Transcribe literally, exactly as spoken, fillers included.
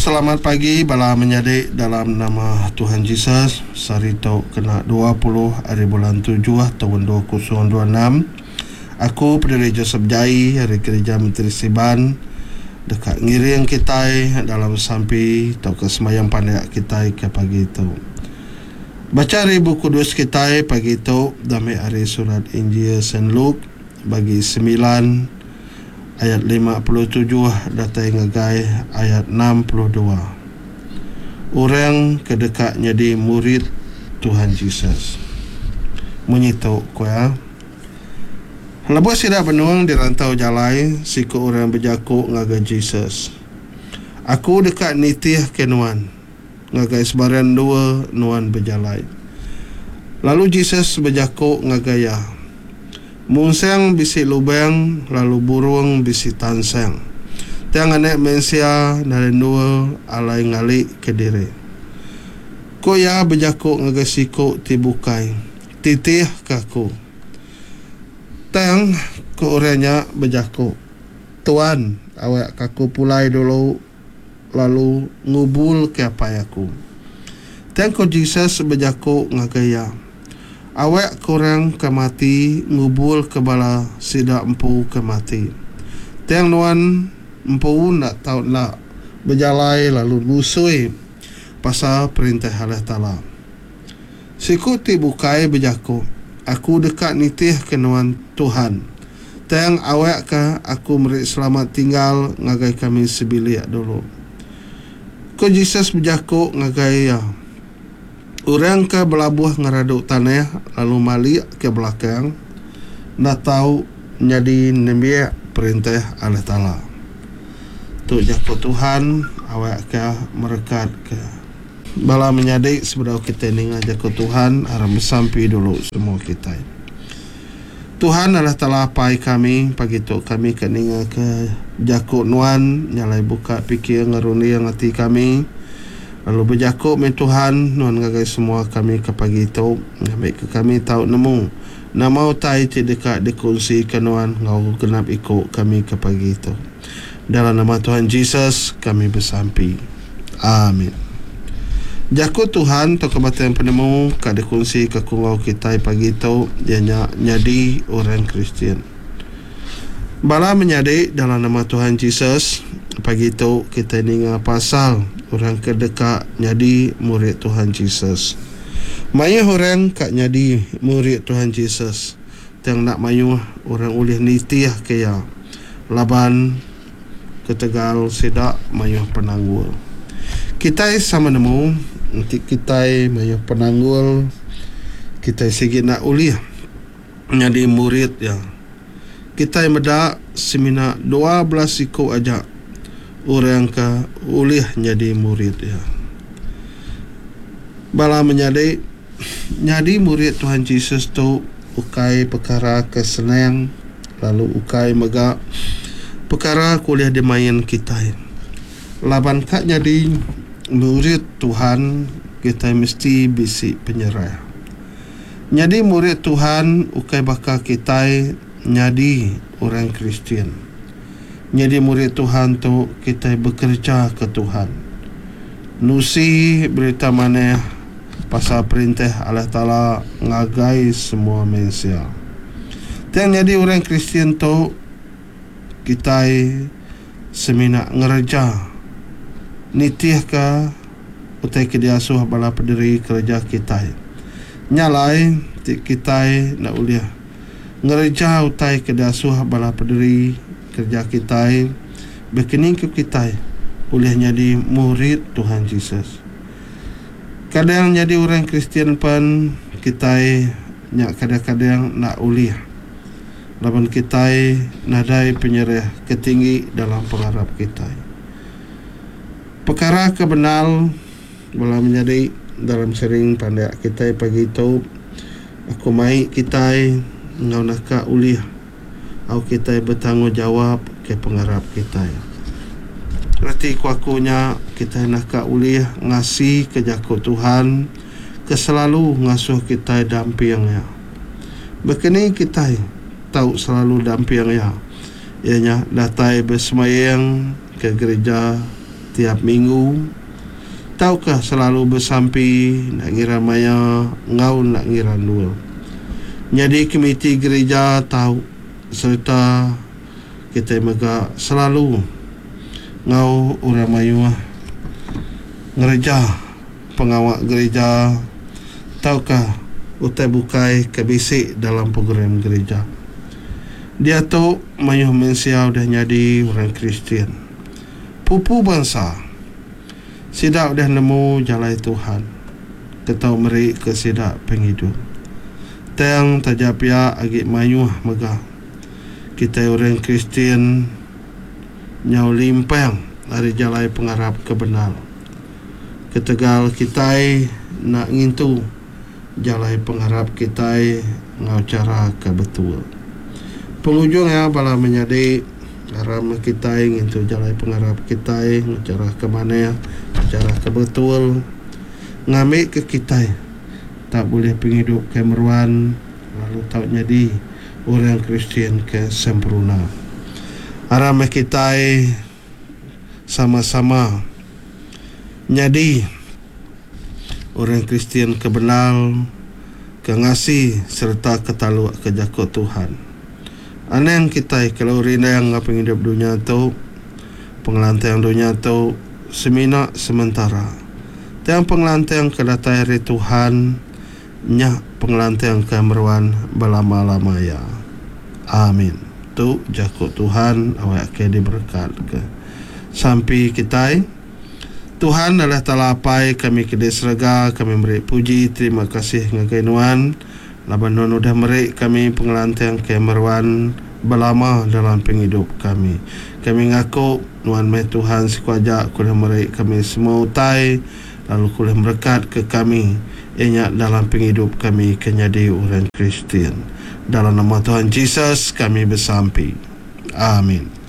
Selamat pagi bala menyadi dalam nama Tuhan Jesus. Sehari tu kena dua puluh ari bulan tujuh taun dua kosong dua enam. Aku Pederi Joseph Jai ari Gereja Menteri Siban deka ngiring kitai dalam sampi tauka sembahyang pandak kitai ke pagi tu. Bacha ari Bup Kudus kitai pagi tu dami ari surat Injil Saint Luke bagi semilan ayat lima puluh tujuh datai ngagai ayat enam puluh dua. Orang ke deka nyadi murid Tuhan Jesus. Munyi tu ku iya. Lebuh sida benung di rantau jalai, siku orang bejaku ngagai Jesus. Aku deka nitihka nuan ngagai sebarang endur nuan bejalai. Lalu Jesus bejaku ngagai iya, Munsang bisi lubang lalu burung bisi tansang. Tang anak mensia nadai endur alai ngali ke diri. Ku iya bejaku ngagai siku ti bukai, Titih ke aku. Tang ku orang nya bejaku, Tuan, awak ke aku pulai dulu lalu ngubul ke apai aku. Tang ku Jesus bejaku ngagai iya, Awak ke orang ke mati ngubul ke bala sida empu ke mati. Tang nuan empu enda tau enda bejalai lalu nusui pasal perintah Allah Taala. Siku ti bukai bejaku, Aku deka nitihka nuan, Tuhan. Tang awak ke aku meri selamat tinggal ngagai kami sebilik dulu. Ku Jesus bejaku ngagai iya, Orang ke belabuh ngeradu tanah lalu malik ke belakang enda tau nyadi nembiak perintah Allah Taala. Tu jaku Tuhan awakka merekatka bala menyadi sebedau kitai ninga jaku Tuhan aram besampi dulu semua kitai. Tuhan Allah Taala Apai kami, pagi tu kami ke ninga ke jaku nuan nyalai buka pikir ngerunding ati kami. Lalu bejaku meh Tuhan nuan ngagai semua kami ke pagi tu, ngambika kami tau nemu nama utai ti deka dikunsika nuan enggau genap iku kami ke pagi tu. Dalam nama Tuhan Jesus kami besampi. Amin. Jaku Tuhan tauka batang penemu ka dikunsika ku enggau kitai pagi tu iya nya nyadi orang Kristian. Bala menyadi dalam nama Tuhan Jesus, pagi tu kitai ninga pasal orang ke deka nyadi murid Tuhan Jesus. Mayuh orang ka nyadi murid Tuhan Jesus, tang enda mayuh orang ulih nitihka iya laban ketegal sida mayuh penanggul. Kitai sama nemu enti kitai mayuh penanggul, kitai sigi enda ulih nyadi murid iya. Kitai meda semina dua belas iku aja orang ke ulih nyadi murid iya. Bala menyadi, nyadi murid Tuhan Jesus tu ukai pekara ke senang lalu ukai mega pekara ke ulih dimain kitai. Laban ka nyadi murid Tuhan, kitai mesti bisi penyerah. Nyadi murid Tuhan ukai baka kitai nyadi orang Kristian. Nyadi murid Tuhan tu kitai bekereja ke Tuhan. Nusi berita manah pasal perintah Allah Taala ngagai semua mensia. Tang nyadi orang Kristian tu kitai semina ngereja nitihka utai ke diasuh bala pederi kereja kitai. Nya alai ti kitai enda ulih ngereja utai ke diasuh bala pederi kereja kitai, bekening ke kitai ulih nyadi murid Tuhan Jesus. Kadang nyadi orang Kristian pen kitai nya kadang-kadang enda ulih laban kitai nadai penyerah ke tinggi dalam pengarap kitai. Pekara ke bendar bala menyadi dalam sering pandak kitai pagi tu, aku mai kitai enggau naka ulih au kitai betanggungjawab ke pengarap kitai. Reti ku aku nya kitai naka ulih ngasi ke jaku Tuhan ke selalu ngasuh kitai damping iya. Bekeni kitai tau selalu damping iya? Iya nya datai besembahyang ke gereja tiap minggu tauka selalu besampi enda ngira maya enggau enda ngira endur. Nyadi komiti gerija tau sereta kitai mega selalu enggau orang mayuh ngereja pengawa gerija tauka utai bukai ke bisi dalam program gerija. Diatu mayuh mensia udah nyadi orang Kristian. Pupu bansa sida udah nemu jalai Tuhan ke tau meri ke sida pengidup. Tang taja pia agi mayuh mega kitai orang Kristian nyau limpang ari jalai pengarap ke bendar. Ketegal kitai enda ngintu jalai pengarap kitai enggau chara ke betul. Pengujung iya bala menyadi aram kitai ngintu jalai pengarap kitai enggau chara ke manah, chara ke betul ngambika kitai tau bulih pengidup ke meruan lalu tau nyadi orang Kristian ke sempurna. Aram meh kitai sama-sama nyadi orang Kristian ke bendar, ke ngasi sereta ke taluk ke jaku Tuhan. Anang kitai kelalu rindang enggau pengidup dunya tu, pengelantang dunya tu semina sementara. Tang pengelantang ke datai ari Tuhan nya pengelantang ke meruan belama-lama iya. Amin. Tu jaku Tuhan awak ke diberekatka. Sampi kitai. Tuhan Allah Taala Apai kami ke di serega, kami meri puji terima kasih ngagai Nuan laban Nuan udah meri kami pengelantang ke meruan belama dalam pengidup kami. Kami ngaku Nuan meh Tuhan siku aja ke udah meri kami semua utai lalu ke ulih merekat ke kami iya nya dalam pengidup kami ke nyadi orang Kristian. Dalam nama Tuhan Jesus kami besampi. Amin.